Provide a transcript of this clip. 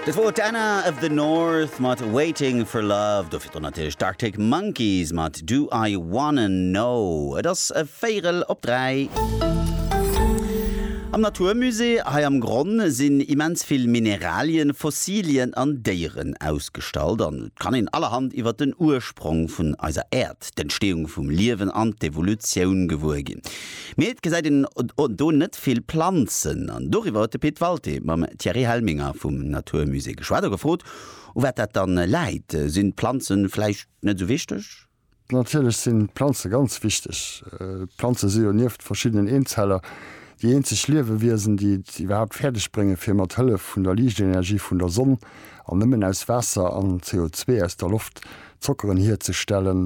Dat wor d'Anna of the North mat Waiting for Love, do virdrun natierlech d'Arctic Monkeys mat Do I Wanna Know. Et ass e Véierel op 3. Am Naturmusée hei am Gronn sinn immens vill Mineralien, Fossilien an Déieren ausgestallt an et kann een allerhand iwwer den Ursprong vun eiser Äerd, d'Entstehung vum Liewen an d'Evolutioun gewuer ginn. Mee et gesäit een do net vill Planzen. An doriwwer huet de Pit Walté mam Thierry Helminger vum Naturmusée geschwat a gefrot, u wat dat dann läit. Sinn d'Planzen vläicht net esou wichteg? Natierlech sinn d'Planze ganz wichteg. D'Planze si jo nieft verschiddenen Eenzeller déi eenzeg Liewewiesen, déi et iwwerhaapt fäerdeg bréngen, fir mat Hëllef vun der Liichtenergie vun der Sonn an nëmmen aus Waasser an CO2 aus der Loft Zockeren hierzestellen.